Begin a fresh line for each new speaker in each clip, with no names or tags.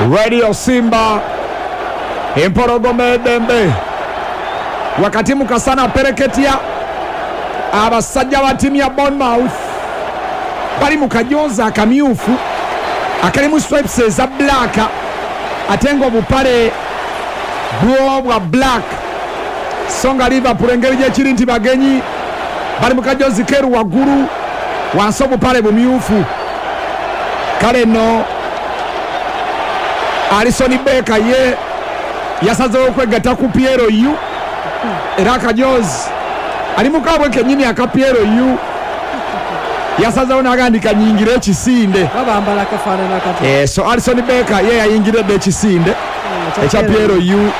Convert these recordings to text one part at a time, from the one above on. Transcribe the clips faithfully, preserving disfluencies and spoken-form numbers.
Radio Simba, empologoma eddembe wakati mu kasana pereketya. Abasajja ba ttiimu ya Bournemouth bali mu kajozi akamyufu akalimu stripes eza black, ate nga obupale bwo bwa black. So nga Liverpool engeri gyekiri nti bagenyi, bali mu kajozi keru waggulu, wansi obupale bumyufu. Kale nno Alisson Becker ye yasazeewo okwegatta ku P L U, era akajozi ali mukaabwe kennyini aka P L U yasazeewo n'agandika nyingira ekisinde.
Babambala kafaanana kati.
Eh, so Alisson Becker ye yayingiredde ekisinde ekya P L U,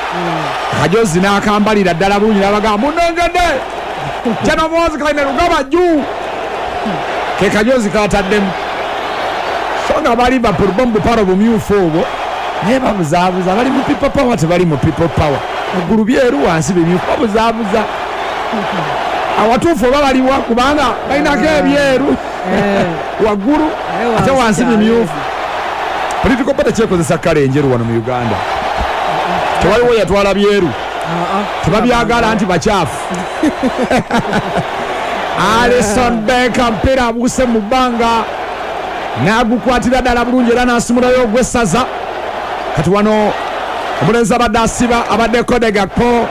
akajozi n'akambalira ddala bulungi, n'abagamba munongedde kyano Muhoozi Kainerugaba juu ke kajozi kataddemu. So nga ba Liverpool bo mu bupale bumyufu obwo, naye babuzaabuza, bali mu people power, tebali mu people power. Waggulu byeru, wansi bimyufu, babuzaabuza. Awatuufu oba baliwa? Kubanga balinako ebyeru waggulu ate wansi bimyufu. Political party kyekozesa kale enjeru wano mu Uganda, tewaliwo yatwala byeru, tebabyagala nti bakyafu. Alisson Becker mpira abuuse mu bbanga n'agukwatira ddala bulungi era n'asimulayo ogw'essaza. Kati wano omulenzi abadde asiba abadde Cody Gakpo,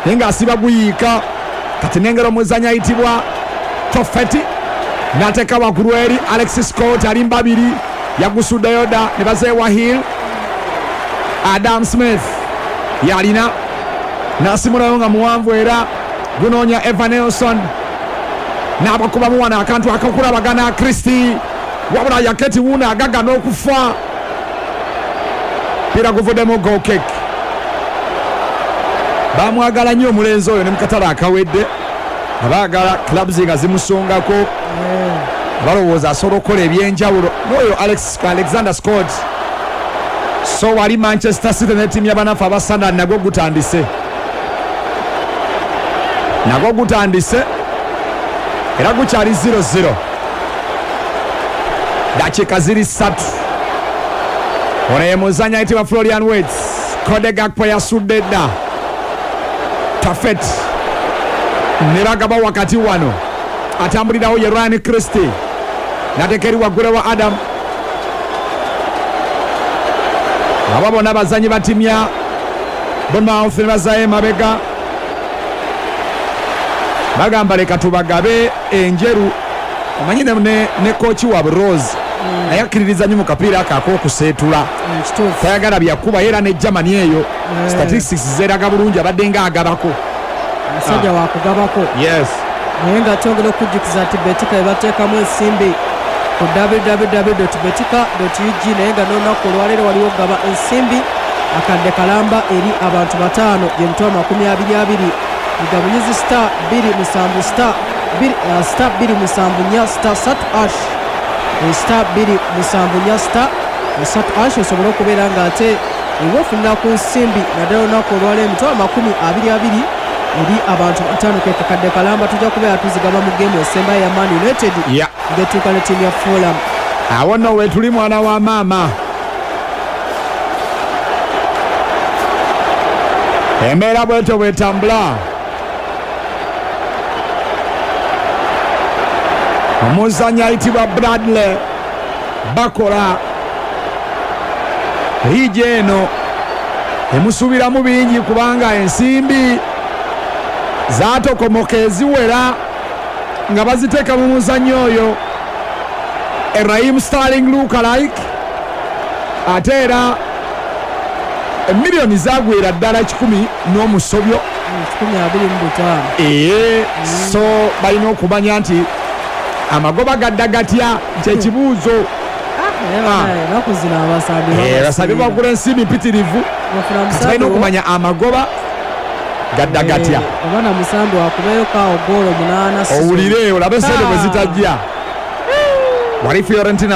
naye ng'asiba guyiika. Kati nengera omuzanyi ayitibwa Tofeti n'ateeka waggulu eri Alex Scott, ali mbabiri, yagusuddeyo dda ne bazeewa Hill. Adam Smith yalina n'asimulayo nga muwanvu era gunoonya Evan Nelson, n'abakubamu wano akantu akakulabagana Christie, wabula Yaketi wuno agaga n'okufa, pira guvuddemu goal kick. Bamwagala nnyo omulenzi oyo, ne mukatale akawedde abaagala clubs nga zimusongako, balowooza asobola okukola ebyenjawulo n'oyo Alex, Alexander Scott. So wali Manchester City ne ttiimu y'abanafu aba Sunderland nagwo gutandise nagwo gutandise era gukyali zero zero, dakiika ziri ssatu. Ono ye muzanyi ayitibwa Florian Wirtz. Cody Gakpo yasudde dda Tafet ne bagaba wakati wano, atambulirawo ye Ryan Christie nateeka eri waggulu wa Adam. Abo bonna bazanyi ba ttiimu ya Bournemouth ne bazaayo emabega, bagamba leka tubagabe enjeru. Omanyi ne, ne, ne kochi waabwe Rose naye akkiririza nnyo mu kapiira ako ak'okuseetula,
Kituufu.
Tayagala byakuba era ne Germany eyo statistics zeraga bulungi abadde nga agabako.
Omusajja wakugabako.
Yes.
Naye nga twongera okujjukiza nti Betika ebateekamu ensimbi ku W W W betika ug, naye nga n'olunaku olwaleero waliwo okugaba ensimbi akadde kalamba eri abantu bataano, gyemitwalo makumi abiri abiri. Mugabunyizi star bbiri musanvu star bbiri, uh, star bbiri musanvu nnya star satu hash, Eh, star bbiri musanvu nnya star satu hash, osobole okubeera ng'ate eba ofunira ku nsimbi naddala olunaku olwaleero emitwalo makumi abiri abiri eri abantu bataano, ke kakadde kalamba. Tujja kubeera tuzigaba mu geemu esembayo ya Man United
yeah.
ng'etuuka ne ttiimu ya Fulham.
Awo nno wetuli, mwana wa maama. Embeera bwetyo bwetambula. Omuzanyi ayitibwa Bradley Bakola, liigi eno emusuubiramu bingi kubanga ensimbi zaatokomoka eziwera nga baziteeka mu muzannyo oyo Raheem Sterling lookalike, ate era emiliyoni zagwera ddala kikumi n'omusobyo.
Kikumi abiri mu butaano.
Ee, so balina okumanya nti amagoba gadda gatya, kyekibuuzo.
Enaku zino abasambi
Eh, abasambi bagula ensimbi mpitirivu, kati balina okumanya amagoba gadda gatya.
Oba na musambi wakubeyo kawo goolo munaana.
Owulire olabe sente bwe zitajja wali Fiorentina.